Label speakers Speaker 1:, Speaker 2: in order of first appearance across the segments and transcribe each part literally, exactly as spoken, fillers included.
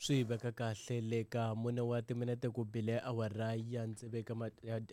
Speaker 1: Swi veka kahle le ka mune wa timinete ku bile awara ya tsevu eka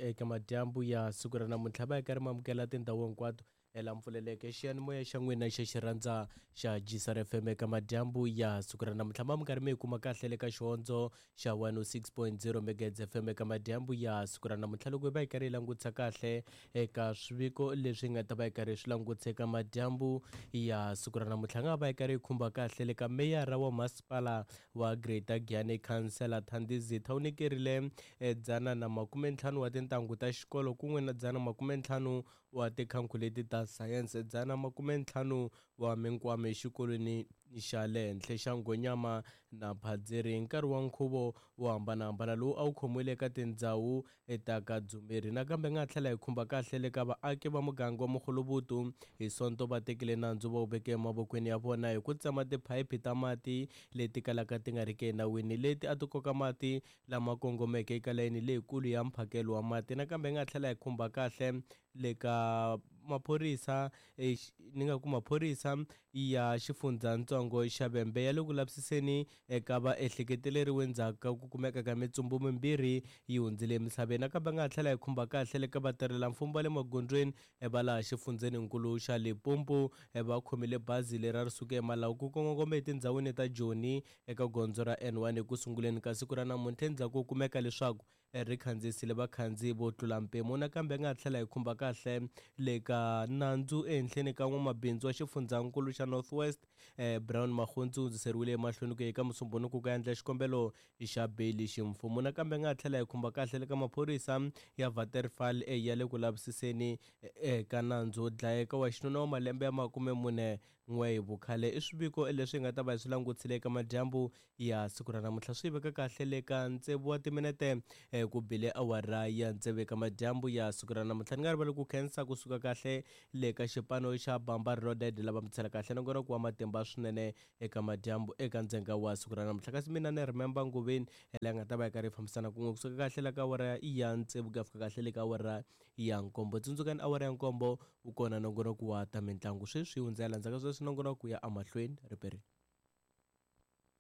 Speaker 1: eka madyambu ya siku ra namuntlha va hi karhi mamukela tindhawu hinkwato la mpfuleleke xiyanimoya xa n'wina xa xirhandza xa G S R F M eka madyambu ya siku ra namuntlha. Ma mi karhi mi yi kuma kahle le ka xihondzo xa one oh six point zero Megahertz F M eka madyambu ya siku ra namuntlha. Loko hi va hi karhi hi langutisa kahle eka swiviko leswi nga ta va hi karhi swi langutisa eka madyambu ya siku ra namuntlha, nga va hi karhi hi khumba kahle le ka meyara wa masipala wa Greater Giyani, Khansela Thandi Zitha, u nyikerile dzana na makume ntlhanu wa tintangu ta xikolo kun'we na dzana makume ntlhanu wa tikhankhuleti ta sayense, dzana makume ntlhanu wa minkwama exikolweni xa le henhla xa Nghonyama na Phadziri hi nkarhi wa nkhuvo wo hambanahambana lowu a wu khomiwile eka tindhawu ta ka Dzumeri. Nakambe nga tlhela hi khumba kahle le ka vaaki va muganga wa Mukhulubutu, hi Sonto va tekile nandzu va wu veke emavokweni ya vona hi ku tsema tiphayiphi ta mati leti kalaka ti nga riki enawini, leti a ti koka mati lama kongomeke eka layeni leyikulu ya mphakelo wa mati. Nakambe nga tlhela hi khumba kahle le ka maphorisa, ni nga ku maphorisa ya xifundzatsongo xa Vhembe ya le ku lavisiseni eka vaehleketeleriwa endzhaku ka ku kumeka ka mitsumbu mimbirhi yi hundzile emisaveni. Nakambe nga tlhela hi khumba kahle le ka vatirhelamfumo va le magondzweni va laha xifundzenikulu xa Limpopo, va khomile bazi leri a ri suka eMalawi ku kongoma etindhawini ta Joni eka gondzo ra N one eku sunguleni ka siku ra namuntlha, endzhaku ko kumeka leswaku ri khandziyisile vakhandziyi vo tlula mpimo. Nakambe nga tlhela hi khumba kahle le ka nandzu ehenhleni ka n'wamabindzu wa xifundzankulu xa North West, eh, Brown Magontsi, u hundziseriwile emahlweni ku ya eka Musumbhunuku ku endla xikombelo xa beyili ximfumo. Nakambe nga tlhela hi khumba kahle le ka maphorisa ya Waterval ya le ku lavisiseni eka nandzu wo dlayeka wa xinuna wa malembe ya makume mune n'we hi vukhale. I swiviko leswi hi nga ta va hi swi langutisile eka madyambu ya siku ra namuntlha. Swi veka kahle le ka tsevu wa timinete ku bile awara ya tsevu eka madyambu ya siku ra namuntlha. Ni nga rivali ku khensa kusuka kahle le ka xipano xa Bamba Reloaded lava mi tsela kahle nongonoko wa matimba swinene eka madyambu eka ndzenga wa siku ra namuntlha. Kasi mina ni Remember Nguveni leyi nga ta va yi karhi yi fambisana kun'we kusuka kahle la ka awara ya tsevu ku ya fika kahle le ka awara ya nkombo. Tsundzukani, awara ya nkombo wu kona nongonoko wa ta mitlangu. Sweswi hundzela ndzhaku ka sweswi nongonoko ya emahlweni riperini.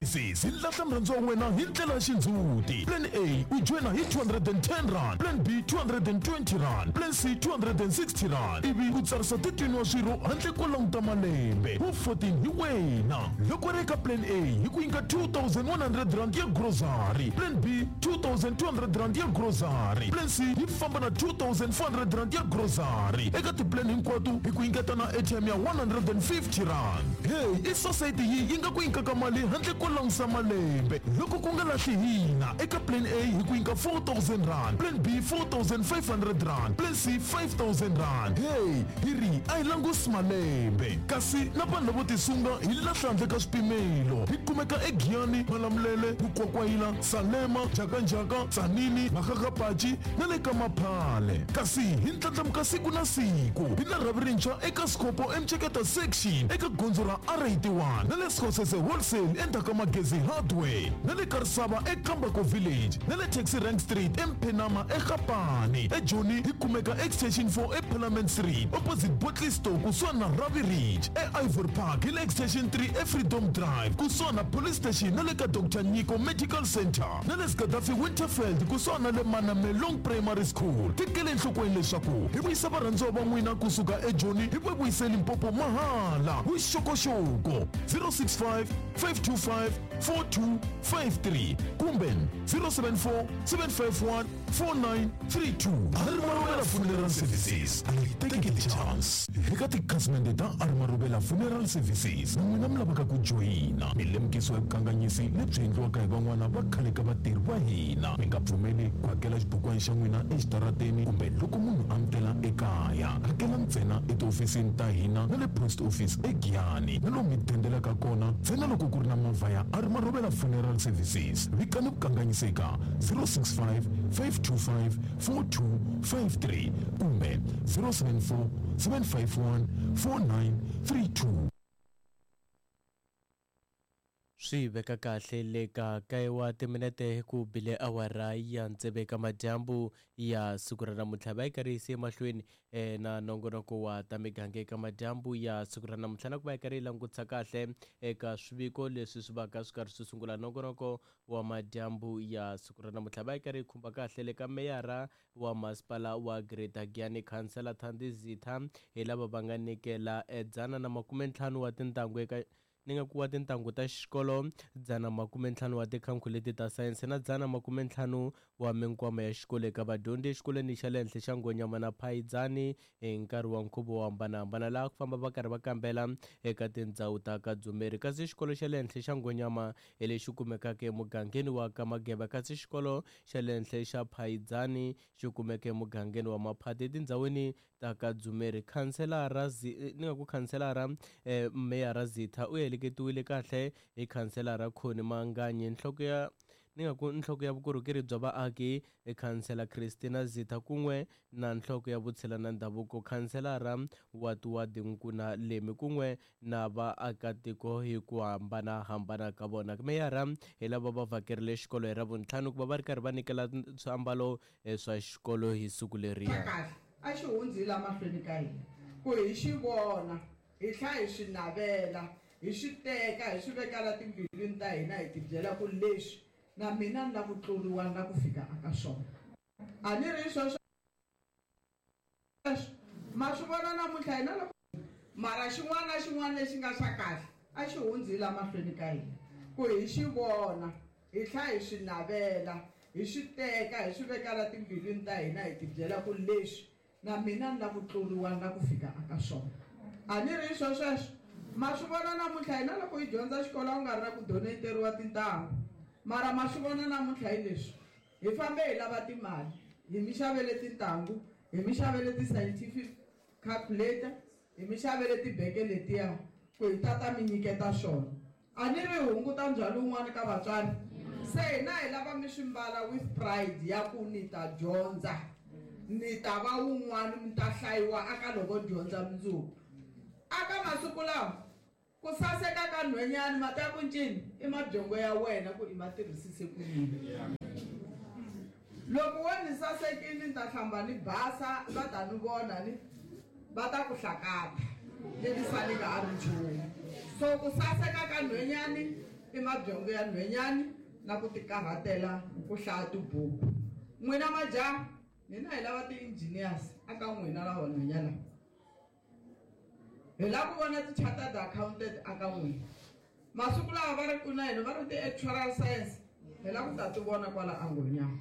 Speaker 2: Sisi lahla mrhandzo wa wena hi ndlela ya xindzhuti. Plan A, u joyina hi two hundred and ten rand. Plan B, two hundred and twenty rand. Plan C, two hundred and sixty rand. Ivi u tsarisa thirteen wa swirho handle ko languta malembe. Wu fourteen hi wena. Loko ri eka plan A, hi ku nyika two thousand one hundred rand ya grocery. Plan B, two thousand two hundred rand ya grocery. Plan C yi famba na two thousand four hundred rand ya grocery. Eka tiplan hinkwato hi ku nyiketa na airtime ya one hundred and fifty rand. Hey, i society yi yi nga ku nyikaka mali handle ko langutisa malembe. Loko ku nga lahli hina, eka plan A hi ku nyika four thousand rand. Plan B, four thousand five hundred rand. Plan C, five thousand rand. Hey, hi ri a hi langusi malembe. Kasi na vanhu lavo tisunga hi lahla handle ka swipimelo. Hi kumeka eGiyani, Malamulele, Mukwakwayila, Salema, Njhakanjhaka, Tzaneen, Makgakgapachi na le ka Maphale. Kasi hi ndlandlamuka siku na siku. Hi na rhavi rintshwa eka Scopo eMcheketa section eka gondzo ra R eighty-one, na le Sekgosese Wholesale endzhaku ka Magezi Hardware, na le Karisava eKambako Village, na le Taxi Rank Street eMphenama eGapani. EJoni hi kumeka Extension four eParliament Street opposite Bottle Store kusuhani na Ravi Ridge. EIvory Park hi le Extension three eFreedom Drive kusuhani na Police Station na le ka Doctor Nyiko Medical Center, na le Gaddafi Winterfeld kusuhani na le Manamelong Primary School. Tekele enhlokweni leswaku hi vuyisa varhandziwa va n'wina kusuka eJoni hi va vuyise Limpopo mahala. Vuxokoxoko zero six five, five two five four two five three kumbe zero seven four, seven five one four nine three two. Arimarobela Funeral Services, a hi tekeli chance. Eka tikhasimende ta Arimarobela Funeral Services na n'wina mi lavaka ku joyina, mi lemukisiwa hi vukanganyisi lebyi endliwaka hi van'wana va khale ka vatirhi va hina. Mi nga pfumeli ku hakela xibukwana xa n'wina exitarateni kumbe loko munhu a mi tela ekaya. Hakela ntsena etihofisini ta hina na le post office eGiyani, na lomu mi dendelaka kona ntsena loko ku ri na movha ya Arimarobela Funeral Services. Vikani vukanganyisi eka zero six five, five two five four two five three kumbe zero seven four, seven five one four nine three two.
Speaker 1: Swi veka kahle le ka kaye wa timinete ku bile awara ya tsevu eka madyambu ya siku ra namuntlha. Va yi karhi yi emahlweni eh, na nongonoko wa ta miganga eka madyambu ya siku ra namuntlha, na ku va yi karhi yi langutisa kahle eka swiviko leswi swi va ka swi karhi swi sungula nongonoko wa madyambu ya siku ra namuntlha. Va yi karhi yi khumba kahle le ka meyara wa masipala wa Greater Giyani, Khansela Thandi Zitha, hi lava va nga nyikela dzana na makume ntlhanu wa tintangu eka ni nga ku wa tintangu ta xikolo, dzana makume ntlhanu wa tikhankhuleti ta sayense na dzana makume ntlhanu wa minkwama ya xikolo eka vadyondzi exikolweni xa le henhla xa Ngonyama na Phayizani hi nkarhi wa nkhuvo wo hambanahambana, laha ku famba va karhi va kambela eka tindhawu ta ka Dzumeri. Kasi xikolo xa le henhla xa Ngonyama hi lexi kumekaka emugangeni wa ka Mageba, kasi xikolo xa le henhla xa Phayizani xi kumeka emugangeni wa Maphati etindhawini ta ka Dzumeri. Khanselara ni nga ku khanselara eh, meyara Zitha u heleketiwile kahle hi khanselara Khoni Manganyi, nhloko ya ni nga ku nhloko ya vukorhokeri bya vaaki khansela Christina Zitha, kun'we na nhloko ya vutshila na ndhavuko khanselara wa Tiwadi Nkuna Lemi, kun'we na vaakatiko hi ku hambanahambana ka vona. Meyara hi lava va vhakerile xikolo hi Ravuntlhanu ku va va ri karhi va nyikela swiambalo swa xikolo hi siku leriya.
Speaker 3: Kahle a xi hundzi la mahlweni ka hina ku hi xi vona, hi tlhela hi swi navela, hi swi teka, hi swi veka la timbilwini ta hina, hi tibyela ku leswi na mina ni la ku tluriwa, ni la ku fika aka swona. A ni ri sweswo ma swi vona namuntlha hina loko mara xin'wana na xin'wana lexi nga xa kahle a xi hundzi la mahlweni ka hina ku hi xi vona, hi tlhela hi swi navela, hi swi teka, hi swi veka la timbilwini ta hina, hi tibyela ku leswi na mina ni la ku tluriwa, ni la ku fika aka swona. A ni ri swo sweswo ma swi vona namuntlha hina loko hi dyondza xikolo a ku nga ri na ku donateriwa tintangu, mara ma swi vona namuntlha hi leswi hi fambe hi lava timali, hi mi xavele tintangu, hi mi xavele ti-scientific calculator, hi mi xavele tibeke letiya ku hi tata mi nyiketa swona. A ni ri hunguta ndzhwalo wun'wani ka vatswari? Se hina hi lava mi swi mbala with pride ya ku ni ta dyondza, ni ta va wun'wani, mi ta hlayiwa aka loko dyondza mundzuku. Aka masiku lawa ku saseka ka nhwenyani mati ya ku ncini i mabyongo ya wena ku i ma tirhisise ku yini. Loko wo ni sasekile ni ta hlamba ni basa, va ta ni vona ni va ta ku hlakata ni ni sali nga a ri nchumu. So ku saseka ka nhwenyani i mabyongo ya nhwenyani na ku tikarhatela ku hlaya tibuku. N'wina majaha, hina hi lava ti-engineers aka n'wina lava nhwenyana, hi lava ku vona ti-chartered accountant aka n'wina. Masiku lawa va ri ku na hina va ri ti-actuarial science, hi lava ku ta ti vona kwala Angonyama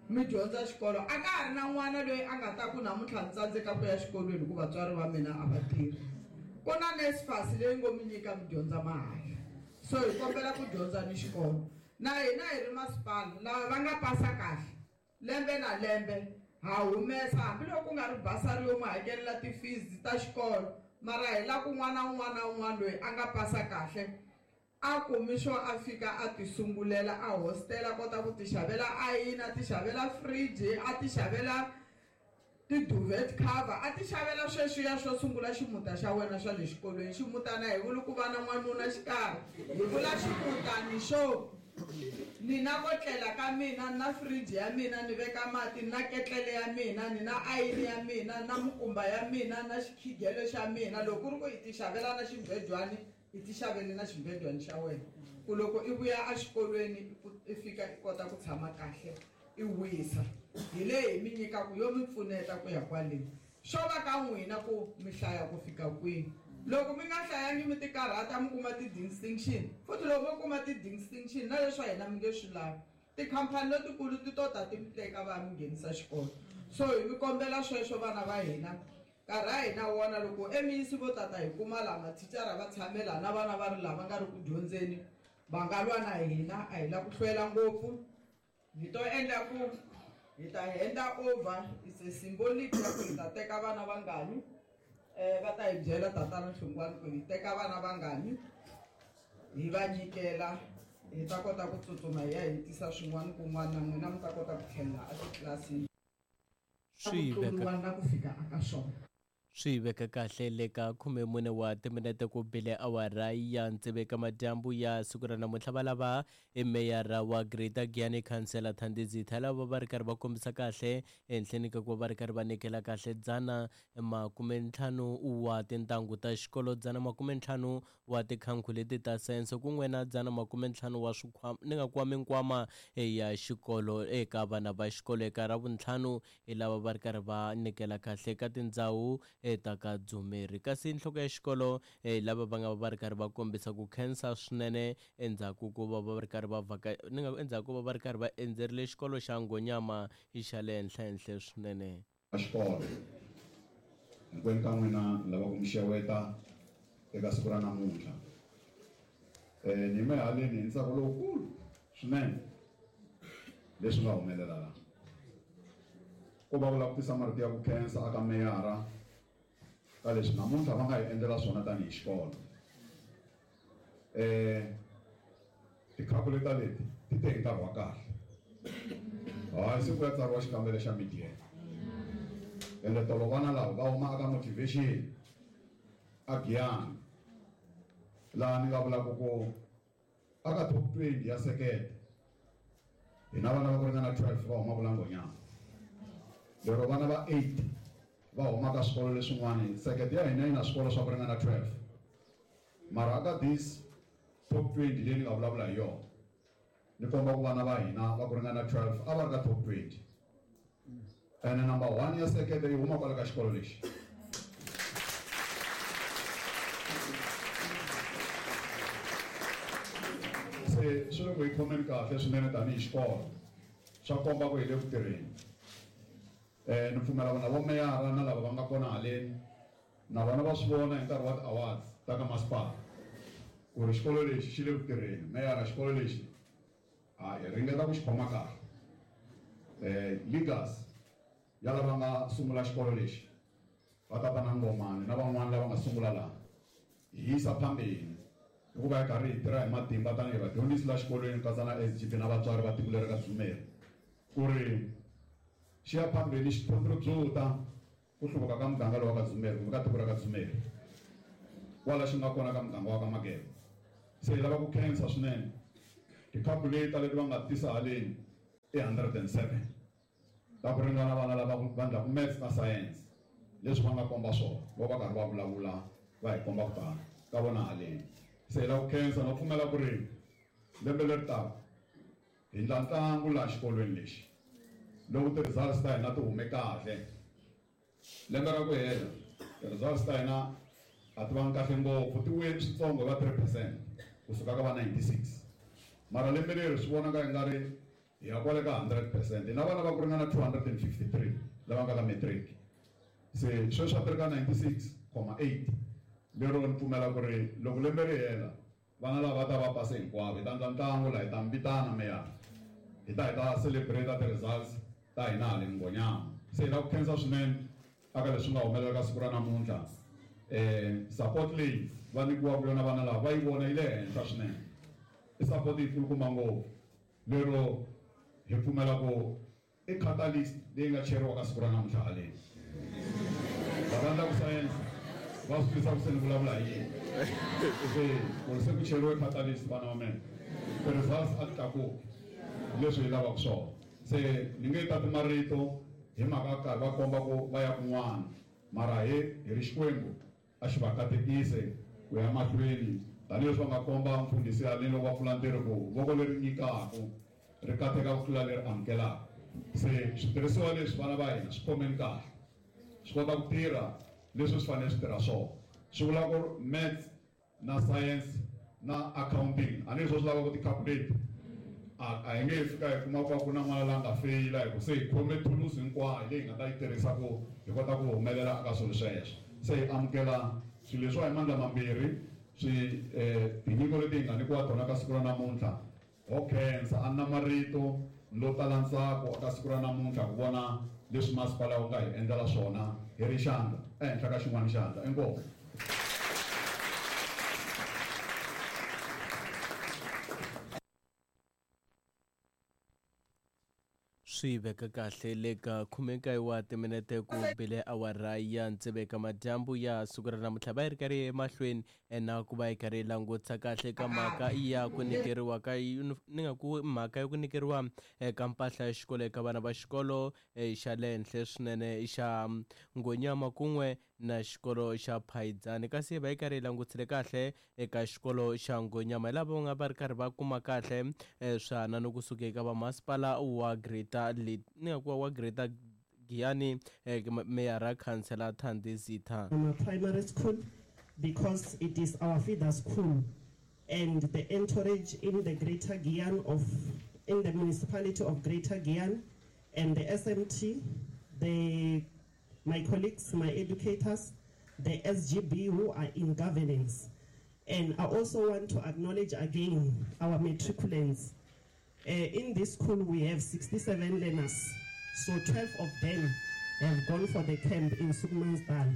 Speaker 3: mi dyondza xikolo. A ka ha ri na n'wana loyi a nga ta ku namuntlha ni tsandzeka ku ya xikolweni hikuva vatswari va mina a va tirhi. Ku na NSFAS leyi ngo mi nyika mi dyondza mahala, so hi kombela ku dyondza ni xikolo. Na hina hi ri masipala lava va nga pasa kahle lembe na lembe ha humesa, hambiloko ku nga ri basari yo n'wi hakelela ti-fees ta xikolo, mara hi la ku n'wana un'wana na un'wana loyi a nga pasa kahle a kumi xo a fika a ti sungulela a hostel, a kota ku ti xavela ayini, a ti xavela fridge, a ti xavela ti-duvet cover, a ti xavela sweswiya swo sungula ximuta xa wena swa le xikolweni. Ximutana hi vuli ku va na n'wanuna xikarhi, hi vula ximutani xo ni na ko tlela ka mina, ni na fridge ya mina, ni veka mati, ni na ketlele ya mina, ni na ayini ya mina, na mukumba ya mina, na xikhigelo xa mina. Loko ku ri ku i ti xavela na ximbejwani, i ti xavele na ximbejwani xa wena, ku loko i vuya exikolweni i fika i kota ku tshama kahle i wisa. Hi leyi hi mi nyikaku yo mi pfuneta ku ya kwaleni. Swo va ka n'wina ku mi hlaya ku fika kwini. Loko mi nga hlayangi mi ti karhata mi kuma ti-distinction, futhi loko mo kuma ti-distinction na leswa hina mi nge swi lavi, tikhampani letikulu ti to ta ti mi teka va mi nghenisa xikolo. So hi mi kombela sweswo vana va hina, nkarhi a hina wona loko emiyisi vo tata hi kuma laha mathicara va tshamela na vana va ri lava nga ri ku dyondzeni, va nga lwa na hina. A hi la ku hlwela ngopfu, hi to endla ku hi ta henda over, it's a symbolic ya ku hi ta teka vana vangani. Eh va ta hi byela tatana Hlungwani ku hi teka vana vangani hi va nyikela, hi ta kota ku tsutsuma hi ya hetisa swin'wana kun'wana, na n'wina mi ta kota ku tlhelela etitlilasini.
Speaker 1: Swi veka
Speaker 3: na ku fika aka swona.
Speaker 1: Swi veka kahle le ka khumemune wa timinete ku bile awara ya tsevu eka madyambu ya siku ra namuntlha. Va lava i meyara wa Greater Giyani Councillor Thandi Zitha lava va ri karhi va kombisa kahle ehenhleni ka ku va va ri karhi va nyikela kahle dzana makumentlhanu wa tintangu ta xikolo, dzana makumentlhanu wa tikhanku leti ta sayense kun'we na dzana makumentlhanu wa swikhwama ni nga kuwa minkwama ya xikolo eka vana va xikolo. Eka Ravuntlhanu hi lava va ri karhi va nyikela kahle eka tindhawu ta ka Dzumeri. Kasi nhloko ya xikolo lava va nga va ri karhi va kombisa ku khensa swinene endzhaku ko va va ri karhi va vhaka ni nga endzhaku ko va va ri karhi va endzerile xikolo xa Nghonyama xa le henhla henhla swinene.
Speaker 4: Xikolo hinkwenu ka n'wina ni lava ku mi xeweta eka siku ra namuntlha. um ni yime haleni hi ntsako lowukulu swinene leswi nga humelela laha. Ko va ku lava ku tisa marito ya ku khensa aka meyara ka leswi namuntlha va nga hi endlela swona tanihi xikolo. um Tikhalkuleta leti ti te hi nkarhi wa kahle. Hayi siku ya tsariwa xikambelo xa mid-year. Ende tolo vana lava va huma aka motivation a Giyani laha ni nga vulaka ku aka top twenty ya sekete hi na vana va ku ringana twelve va humaka la Nghonyama, lero vana va eight va huma ka swikolo leswin'wana. Sekete ya hina yi na swikolo swa ku ringana twelve, mara aka this top twenty leyi ni nga vulavula hi yona ni komba ku vana va hina va ku ringana twelve a va ri ka top twenty, ene number one ya sekete yi huma kwala ka xikolo lexi. Se swi le ku hi khomeni kahle swinene tanihi xikolo, swa komba ku hi le ku tirheni. um Ni pfumela ku na vo meyara na lava va nga kona haleni na vona va swi vona hi nkarhi wa ti-awards ta ka masipala ku ri xikolo lexi xi le ku tirheni. Meyara, xikolo lexi a hi ringeta ku xi khoma kahle. um Leaders ya lava nga sungula xikolo lexi va tata na Ngomani na van'wani lava nga sungula laha hi yisa phambeni hikuva hi karhi hi tirha hi matimba tanihi vadyondzisi la xikolweni ku katsa na S G B na vatswari va tiko leri ka Dzumeri ku ri xi ya phambeni xi contribute ku hluvuka ka muganga lowu wa ka Dzumeri kumbe ka tiko ra ka Dzumeri kwala xi nga kona ka muganga wa ka Mageba. Se hi lava ku khensa swinene tikhalkuleta leti va nga tisa haleni i hundred and seven ta ku ringana vana lava va endlaku maths na science leswi va nga komba swona loko va karhi va vulavula va hi komba ku tala ka vona haleni. Se hi lava ku khensa no pfumela ku ri lembe leri taka hi endla ntlangu laha xikolweni lexi loko ti-results ta hina ti hume kahle. Lembe ra ku hela ti-results ta hina a ti vangi kahle ngopfu, ti wuye switsongo va three percent kusuka ka va ninety-six, mara lembe leri swi vonaka i nga ri hi ya kwale ka hundred percent. Hi na vana va ku ringana two hundred and fifty-three lava nga ka matric, se sweswi a ti ri ka ninety-six comma eight. Lero ni pfumela ku ri loko lembe ri hela vana lava va ta va pase hinkwavo. Hi ta endla ntlangu laha, hi ta mi vitana meyara, hi ta hi ta celebrate ti-results ta hina haleni Nghonyama. Se hi lava ku khensa swinene aka leswi nga humelela ka siku ra namuntlha. um Support leyi va nyikiwaka yona vana lava va yi vona yi le henhla swinene, i support yi kulukumba ngopfu lero hi pfumela ku i catalyst leyi nga cheriwa ka siku ra namuntlha haleni. Lava endlaku science va swi twisa ku se ni vulavula hi yini, se ku ri se ku cheriwe catalyst vana va mina ti-results a ti tlakuki leswi hi lavaka swona. Se ni nge tati marito hi mhaka karhi va komba ku va ya kun'wana, mara hi hi ri Xikwembu a xi va katekise ku ya mahlweni tanihileswi va nga komba mfundhisi haleni loko va pfula ntirho ku voko leri nyikaku ri kateka ku tlula leri amukelaka. Se switirhisiwa leswi vana va hina swi khomeni kahle, swi kota ku tirha leswi swi fanele swi tirha swona. Swi vula ku maths na science na accounting a ni leswi swi lavaka ku ti-calculate a a hi nge fika hi kuma ku ku na n'wana la nga feyila hi ku se hi khome thulusi hinkwayo leyi hi nga ta yi tirhisa ku hi kota ku humelela eka swilo sweswo. Se hi amukela swilo leswiwa hi mandla mambirhi swi um tinyiko leti hi nga nyikiwa tona ka siku ra namuntlha. Ho khensa, a ni na marito lo tala ntsako eka siku ra namuntlha ku vona leswi masipala wu nga hi endlela swona hi ri xandla ehenhla ka xin'wana xandla. Inkomu.
Speaker 1: Swi veka kahle le ka khumekaye wa timinete ku bile awara ya tsevu eka madyambu ya siku ra namuntlha. Va yi ri karhi emahlweni na ku va yi karhi yi langutisa kahle ka mhaka ya ku nyikeriwa ka ni nga ku mhaka ya ku nyikeriwa eka mpahla ya xikolo eka vana va xikolo xa le henhla swinene xa Ngonyama kun'we na xikolo xa Phayedzani. Kasi va yi karhi yi langutisile kahle eka xikolo xa Ngonyama hi lava va nga va ri karhi va kuma kahle swihanano kusuka eka vamasipala wa Greater ni nga ku wa Greater Giyani, meyara Councillor Thandi Zitha.
Speaker 5: Primary school, because it is our feeder school, and the entourage in the Greater Giyani of in the municipality of Greater Giyani and the S M T, the my colleagues, my educators, the S G B who are in governance. And I also want to acknowledge again our matriculants. Uh, in this school, we have sixty-seven learners. So twelve of them have gone for the camp in Sukmansdal.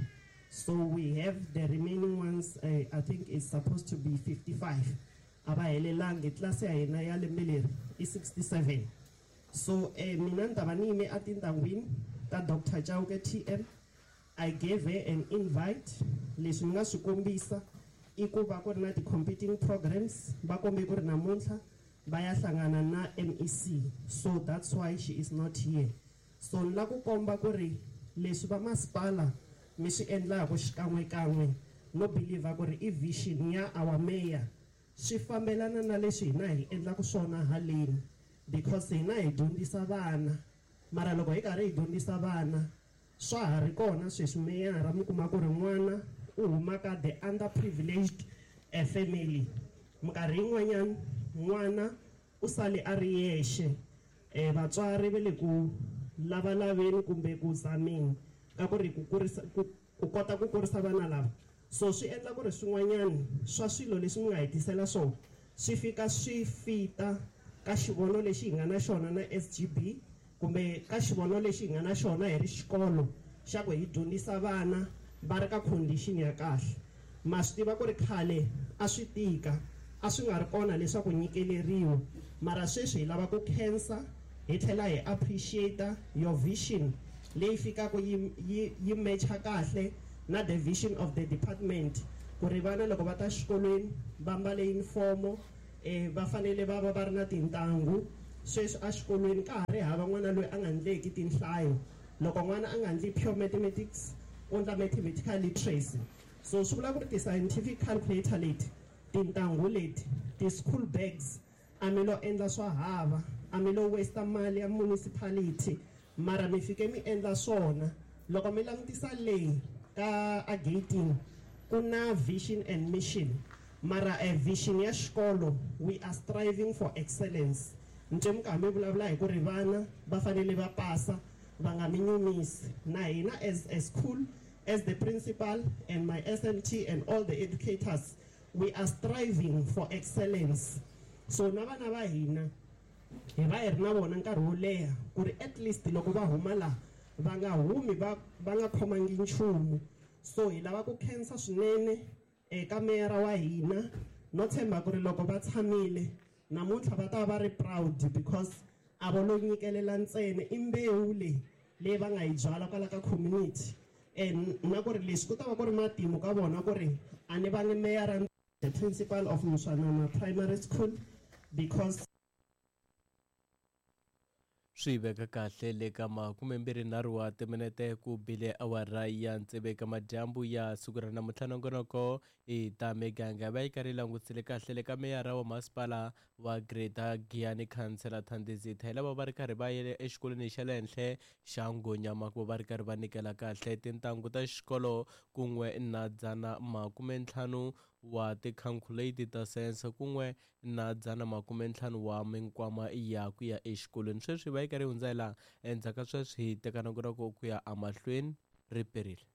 Speaker 5: So we have the remaining ones, uh, I think it's supposed to be fifty-five. Abahelelanga class ya hina ya lembe leri i sixty-seven. So eh, mina ni ta va ni yime etindhawini ta Doctor Chauke T M. I gave her an invite. Leswi ni nga swi kombisa i ku va ku ri na ti-competing programs, va kombe ku ri namuntlha va ya hlangana na M E C. So that's why she is not here. So ni la ku komba ku ri leswi va masipala mi swi endlaku xikan'wekan'we no believe ku ri i vision ya our mayor swi fambelana na leswi hina hi endlaku swona haleni, because hina hi dyondzisa vana, mara loko hi karhi hi dyondzisa vana swa ha ri kona sweswi meyara mi kuma ku ri n'wana u huma ka the underprivileged family, minkarhi yin'wanyana n'wana u sale a ri yexe, eh vatswari va le ku lavalaveni kumbe ku zameni ka ku ri ku kurisa ku kota ku kurisa vana lava. So swi endla ku ri swin'wanyana swa swilo leswi mi nga hetisela swona swi fika swi fita ka xivono lexi hi nga na xona na S G B kumbe ka xivono lexi hi nga na xona hi ri xikolo xa ku hi dyondzisa vana va ri ka condition ya kahle. Ma swi tiva ku ri khale a swi tika, a swi nga ri kona leswaku nyikeleriwa, mara sweswi hi lava ku khensa hi tlhela hi appreciate your vision leyi fikaka yi yi yi matcha kahle na the vision of the department, ku ri vana loko va ta xikolweni va mbale uniform, eh va fanele va va va ri na tintangu. Sweswi exikolweni ka ha ri hava n'wana loyi a nga ndleki tinhlayo. Loko n'wana a nga ndli pure mathematics, u ndla mathematical literacy. So swi vula ku ri ti-scientific calculator leti, tintangu leti, ti-school bags, a mi lo endla swa hava, a mi lo waste mali ya municipality, mara mi fike mi endla swona. Loko mi langutisa leyi ka a gating ku na vision and mission, mara a vision ya xikolo, we are striving for excellence. Nje mi karhi mi vulavula hi ku ri vana va fanele va pasa, va nga mi nyumisi. Na hina as a school, as the principal and my S M T and all the educators, we are striving for excellence. So na vana va hina hi va hi ri na vona nkarhi wo leha ku ri at least loko va huma laha va nga humi va va nga khomangi nchumu. So hi lava ku khensa swinene eka meyara wa hina, no tshemba ku ri loko va tshamile namuntlha va ta va ri proud, because a vo lo nyikelela ntsena, i mbewu leyi leyi va nga yi byala kwala ka community. And na ku ri leswi ku ta va ku ri matimu ka vona ku ri a ni vangi meyara, the principal of Muswanama Primary School, because
Speaker 1: swi veka kahle le ka makumembirhi nharhu wa timinete ku bile awara ya tsevu eka madyambu ya siku ra namuntlha. Nongonoko i ta miganga va yi karhi yi langutisile kahle le ka meyara wa masipala wa Greater Giyani Councillor Thandi Zitha, hi lava va ri karhi va yele exikolweni xa le henhla xa Ngonyama ku va ri karhi va nyikela kahle tintangu ta xikolo kun'we na dzana makumentlhanu wa ti-calculator ta science kun'we na dzana makumentlhanu wa minkwama ya ku ya exikolweni. Sweswi va yi karhi hundza hi laha endzhaku ka sweswi hi teka nongonoko ku ya emahlweni ri perile.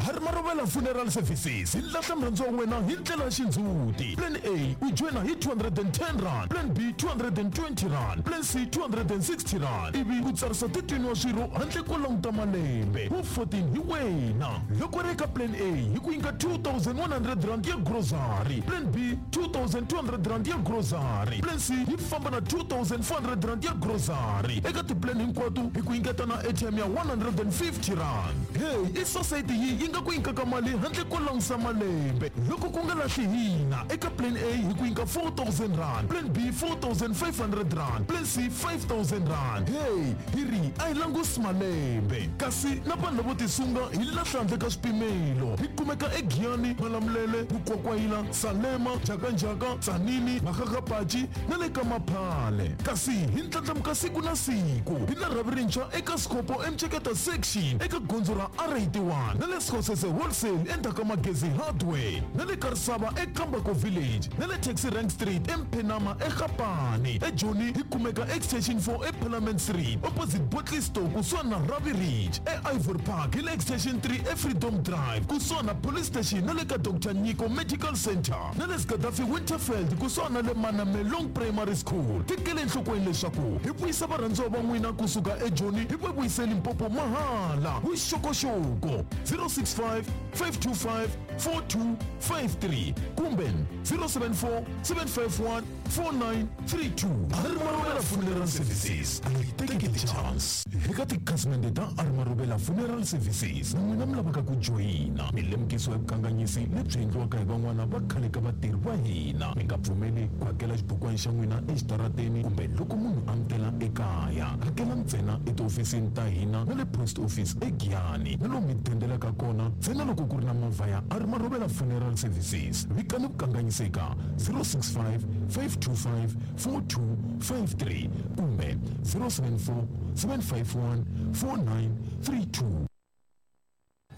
Speaker 2: Harimarovela Funeral Services hi lahla murhandziwa wa wena hi ndlela ya xindzhuti. Plan A u joyina hi two hundred and ten rand, Plan B two hundred and twenty rand, Plan C two hundred and sixty rand, ivi ku tsarisa thirteen wa swirho handle ko languta malembe. Wu fourteen hi wena. Loko ri eka Plan A hi ku nyika two thousand one hundred rand ya grocery, Plan B two thousand two hundred rand ya grocery, Plan C yi famba na two thousand four hundred rand ya grocery. Eka tiplan hinkwato hi ku nyiketa na airtime ya one hundred and fifty rand. Hey, i society yi yi nga ku nyikaka mali handle ko langusa malembe. Loko ku nga lahli hina, eka Plan A hi ku nyika four thousand rand, Plan B four thousand five hundred rand, Plan C five thousand rand. Hey, hi ri a hi langusi malembe. Kasi na vanhu lavo tisunga hi lahla handle ka swipimelo. Hi kumeka eGiyani, Malamulele, Mukwakwayila, Salema, Njhakanjhaka, Tzaneen, Makgakgapachi na le ka Maphale. Kasi hi ndlandlamuka siku na siku. Hi na rhavi rintshwa eka Sikopo eMtsheketa section eka gondzo ra R eighty-one na le Sekgosese Wholesale endzhaku ka Magezi Hardware na le Karisava eKambako Village na le Taxi Rank Street eMphenama eGapane. eJoni hi kumeka Extension four eParliament Street opposite Botley Store kusuhani na Ravi Ridge. E-Ivory Park hi le Extension three eFreedom Drive kusuhani na Police Station na le ka Doctor Nyiko Medical Center na le Gaddafi Winterfeld kusuhani na le Manamelong Primary School. Tekele enhlokweni leswaku hi vuyisa varhandziwa va n'wina kusuka eJoni hi va vuyise Limpopo mahala. Vuxokoxoko zero six five, five two five, four two five three kumbe zero seven four, seven five one, four nine three two. Arimarovela Funeral Services, a hi teki ti-chance. Eka tikhasimende ta Arimarovela Funeral Services, na n'wina mi lavaka ku joyina, mi lemukisiwa hi vukanganyisi lebyi endliwaka hi van'wana va khale ka vatirhi va hina. Mi nga pfumeli ku hakela xibukwana xa n'wina exitarateni kumbe loko munhu a mi tela ekaya. Hakela ntsena etihofisini ta hina na le post office eGiyani na lomu mi dendelaka kona ntsena loko ku ri na movha ya Arimarovela Funeral Services. Vikani vukanganyisi eka zero six five, five two five, four two five three kumbe zero seven four, seven five one, four nine three two.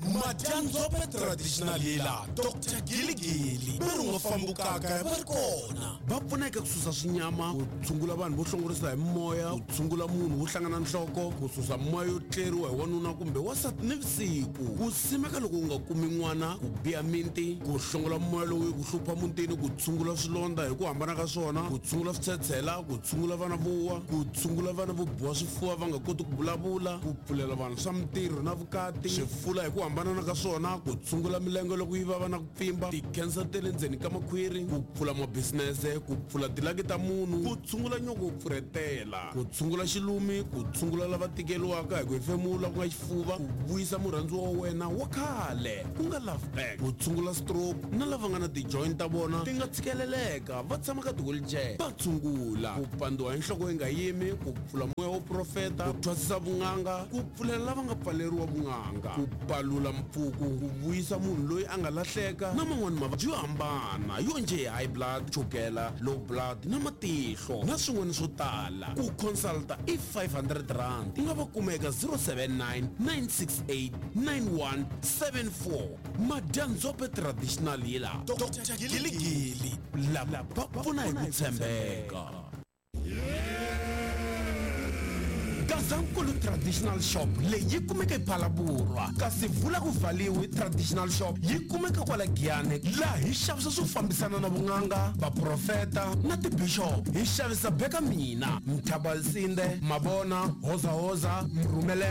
Speaker 6: Madyanzope traditional healer Doctor Giligili va ri nga fambukaka va ri kona va pfuneka ku susa swinyama, ku tshungula vanhu vo hlongorisa hi moya, ku tshungula munhu wo hlangana nhloko, ku susa moya yo tleriwa hi wanuna kumbe wansati nivusiku, ku simeka loko u nga kumi n'wana, ku biha minti, ku hlongola moya lowu ku hlupha mutini, ku tshungula swilondza hi ku hambana ka swona, ku tshungula switshetshela, ku tshungula vana vo wa, ku tshungula vana vo biwa swifuva va nga koti ku vulavula, ku pfulela vanhu swa mintirho na vukati, swifula hi ku hambana ka swona, ku tshungula milenge loko yi vava na ku pfimba, ti-cancer ta le ndzeni ka makhwiri, ku pfula mabisinese, ku pfula tilaki ta munhu, ku tshungula nyoko wo pfurhetela, ku tshungula xilumi, ku tshungula lava tikeriwaka hi ku hefemula ku nga xifuva, ku vuyisa murhandziwa wa wena wa khale ku nga love back, ku tshungula stroke na lava nga na ti-joint ta vona ti nga tshikeleleka va tshama ka ti-wheelchair va tshungula, ku pandziwa hi nhloko yi nga yimi, ku pfula moya wo profeta, ku thwasisa vun'anga, ku pfulela lava nga pfaleriwa vun'anga, ku palula mpfuku, ku vuyisa munhu loyi a nga lahleka na man'wani mavabyi yo hambana yo njhe high blood, chukela, low blood na matihlo na swin'wana swo tala. Ku consulta i five hundred rand. U nga va kuma eka zero seven nine, nine six eight, nine one seven four. Madyanzope traditional healer Doctor Giligili lava va pfuna hi ku tshembeka. Gazankulu Traditional Shop leyi yi kumeka ePhalaborwa, kasi vula ku valiwe Traditional Shop yi kumeka kwala Giyani, laha hi xavisa swo fambisana na vun'anga, vaprofeta na tibishop. Hi xavisa beka mina, Mthabalisinde, Mabona, Hozahoza, Mrhumelele.